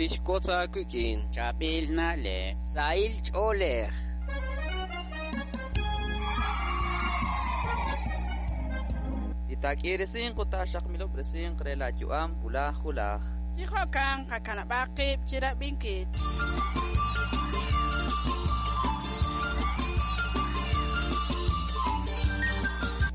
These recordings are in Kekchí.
Tixwotz aawik'in. Chaab'il na'leb'. Sahil ch'oolej. Li taak'iiresinq ut taaxaqmilob'resinq re laayu'am wulaj wulaj. Chi jo'kan qakanab'aq qib' chi rab'inkil.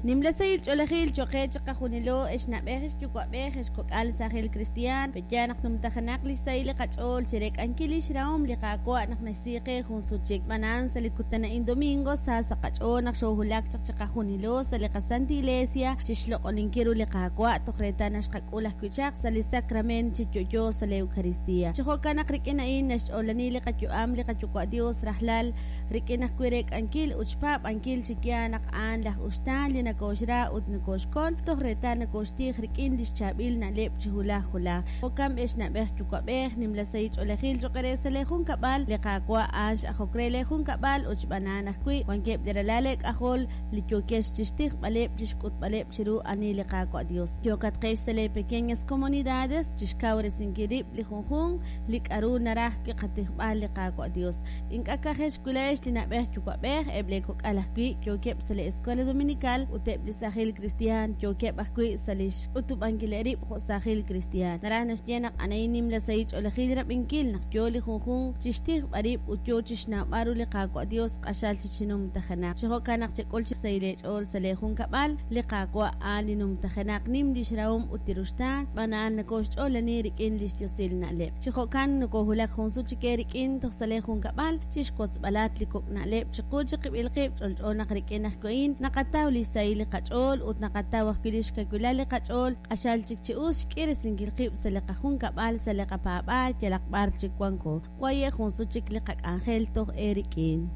Nimla sahil ch'oolejil cho'q qe chiqajunilo, ex na'b'ej, ex yuwa'b'ej, ex kok'al, saajil kristiaan, pe'yaal naq numtajenaq lix sahil li qach'ool chireek'ankil lix rahom li Qaawa' naq naxsi qe jun sut chik. Xb'aan sa' li kutan a'in domingo, sa sa' qach'ool naq xoohulak chaq chiqajunilo sa' li qaSanta Iglesia chixloq'oninkil ru li Qaawa' toj reetal naq xqak'ul ajwi' chaq sa' li sacrament chi yo'yo sa' li Eucaristia. Chi jo'kan naq rik'in a'in naxch'oolani li qayu'am li qaYuwa' Dios rajlal rik'in ajwi' reek'ankil ut xpaab'ankil chi yaal naq a'an laj uxtaan li nakooxra ut nakooxkol toj reetal nakooxtij rik'in lix chaab'il na'leb' chi hulaj hulaj. Jo'kan b'ex na'b'ej yuwa'b'ej, nimla sahil ch'oolejil cho'q eere sa' lee junkab'al, li Qaawa' a'an x'ajok re lee junkab'al ut xb'aan a'an ajwi' wankeb' li ralal eek'ajol li yookex chixtijb'aleb' chixk'utb'aleb' chiru ani li Qaawa' Dios. Yookatqex sa' lee pequeñas comunidades chixkawresinkil rib' li junjunq li k'a'ru naraj wi' qatijb'al li Qaawa' Dios. Ink'a' ka'ajex wi' laa'ex li na'b'ej yuwa'b'ej, eb' lee kok'al ajwi' yookeb' sa' li Escuela Dominical ut eb' li saajil kristiaan yookeb' ajwi' sa' lix ch'utub'ankileb' rib' jo' saajil kristiaan. Naraj naxye naq a'an nimla sahil ch'oolejil rab'inkil naq yoo li junjunq chixtijb'al rib' ut yoo chixnawb'al ru li Qaawa' Dios q'axal chi chinumtajenaq. Chi jo'kan naq chek'ul chi sahil eech'ool sa' lee junkab'al, li Qaawa' a'an li numtajenaq nim lix rahom ut li ruxtaan, xb'aan a'an nokoxch'oolani rik'in lix diosil na'leb'. Chi jo'kan nokohulak jun sut chik eerik'in toj sa' lee junkab'al chixwotzb'alat li kok' na'leb' chiqu chiqib'il qib'. Ch'olch'o naq rik'in ajwi' a'in naqataw lix sahil li qach'ool ut naqataw ajwi' lix kawilal li qach'ool q'axal chik chi us xk'iresinkil qib' sa' li qajunkab'al, sa' li qapaab'aal yalaq b'ar chik wanko. Waye' jun sut chik li qak'anjel toj eerik'in.